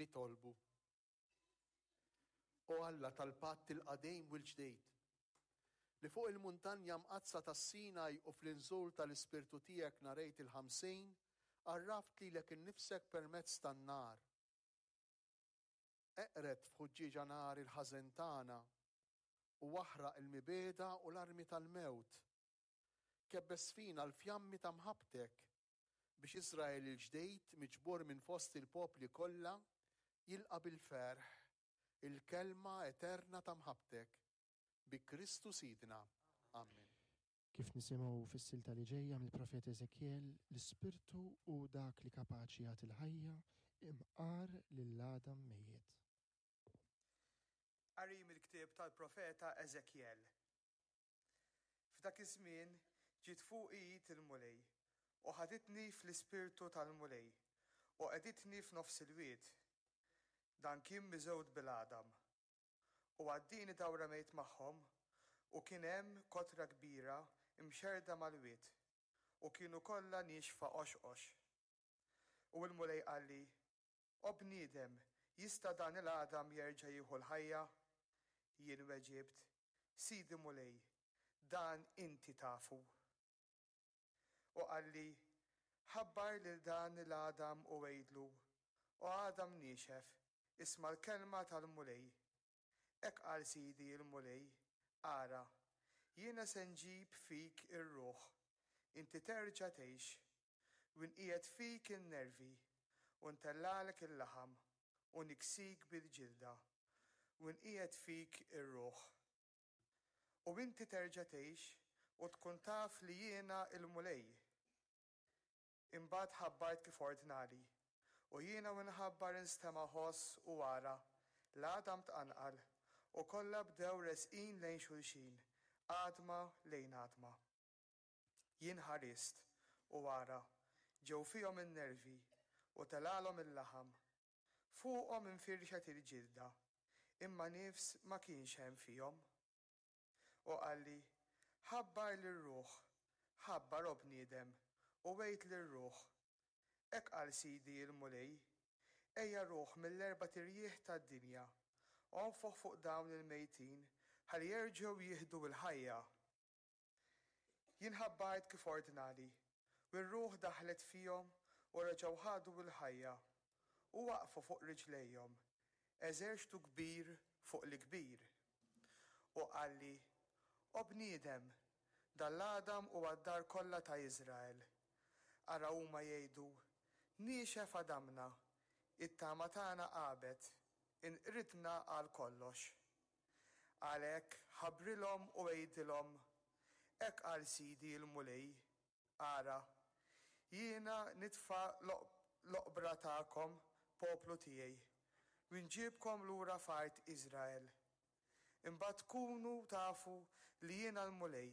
Nitolbu. O Alla tal-patt il-qadim u l-ġdid, li fuq il-muntanja mqaddsa tas-Sinaj u fl-inżul tal-Ispirtu tiegħek nhar Għid il-Ħamsin, għarraft lilek innifsek permezz tan-nar. Eqred f'ħuġġieġa nar il-ħażen tagħna u aħraq il-mibegħda u l-armi tal-mewt. Kebbes fina l-fjammi ta' mħabbtek, biex Iżrael il-ġdid miġbur minn fost il-popli kollha jilqa' bil-ferħ il-kelma eterna ta' mħabbtek, bi Kristu Sidna. Amen. Kif nisimgħu fis-silta li ġejja mill-profeta Eżekjel, l-Ispirtu hu dak li kapaċi jagħti l-ħajja imqar lil għadam mejjet. Qari mill-ktieb tal-profeta Eżekjel. F'dak iż-żmien ġiet fuqi id il-Mulej, u ħaditni fl-ispirtu tal-Mulej, u qegħditni f'nofs il-wied. Dan kien miżgħud bil-għadam. U għaddieni dawra mejt magħhom, u kien hemm kotra kbira mxerrda mal-wied, u kienu kollha niexfa qoxqox. U l-Mulej qalli, O bniedem, jista' dan il-għadam jerġa' jieħu l-ħajja? Jien weġibt, Sidi Mulej, dan inti tafu. U qalli, Ħabbar lil dan il-għadam u għidlu, O għadam niexef, isma' l-kelma tal-Mulej. Hekk qal Sidi l-Mulej, Ara, jiena se nġib fik ir-ruħ, inti terġa' tgħix, u nqiegħed fik in-nervi, u ntellagħlek il-laħam, u niksik bil-ġilda, u nqiegħed fik ir-ruħ. U inti terġa' tgħix u tkun taf li jiena l-Mulej. Imbagħad ħabbart kif ordnali. U jiena u nħabbar instema' ħoss u ara, l-għadam tqanqal, u kollha bdew resqin lejn xulxin, għadma lejn għadma. Jien ħarist, u ara, ġew fihom in-nervi, u telgħalhom il-laħam. Fuqhom infirxet il-ġilda, imma nifs ma kienx hemm fihom. U qalli, Ħabbar lir-ruħ, ħabbar, o bniedem, u għid lir-ruħ, Hekk qal Sidi l-Mulej, Ejja ruħ mill-erbat irjieħ tad-dinja, onfoħ fuq dawn il-mejtin ħalli jerġgħu jieħdu l-ħajja. Jien ħabbart kif ordnali, u r-ruħ daħlet fihom u reġgħu ħadu l-ħajja, u waqfu fuq riġlejhom, eżerċtu kbir fuq l-kbir. U qalli, O bniedem, dan l-għadam huwa d-dar kollha ta' Iżrael. Ara huma jgħidu, 'Niexef għadamna, it-tama tagħna għabet, inqridna għal kollox. Għalhekk ħabbrilhom u għidilhom, 'Hekk qal Sidi l-Mulej, Ara, jiena nitfa' l-oqbra tagħkom, poplu tiegħi, u nġibkom lura f'art Iżrael. Imbagħad tkunu tafu li jiena l-Mulej,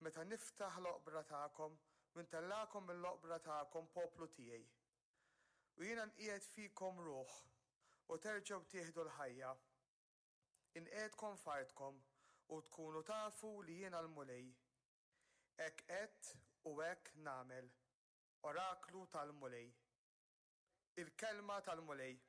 meta niftaħ l-oqbra tagħkom u ntellagħkom mill-oqbra tagħkom, poplu tiegħi. U jiena nqiegħed fikom ruħ, u terġgħu tieħdu l-ħajja. Inqiegħdkom f'artkom u tkunu tafu li jiena l-Mulej. Hekk għedt u hekk nagħmel, oraklu tal-Mulej. Il-Kelma tal-Mulej.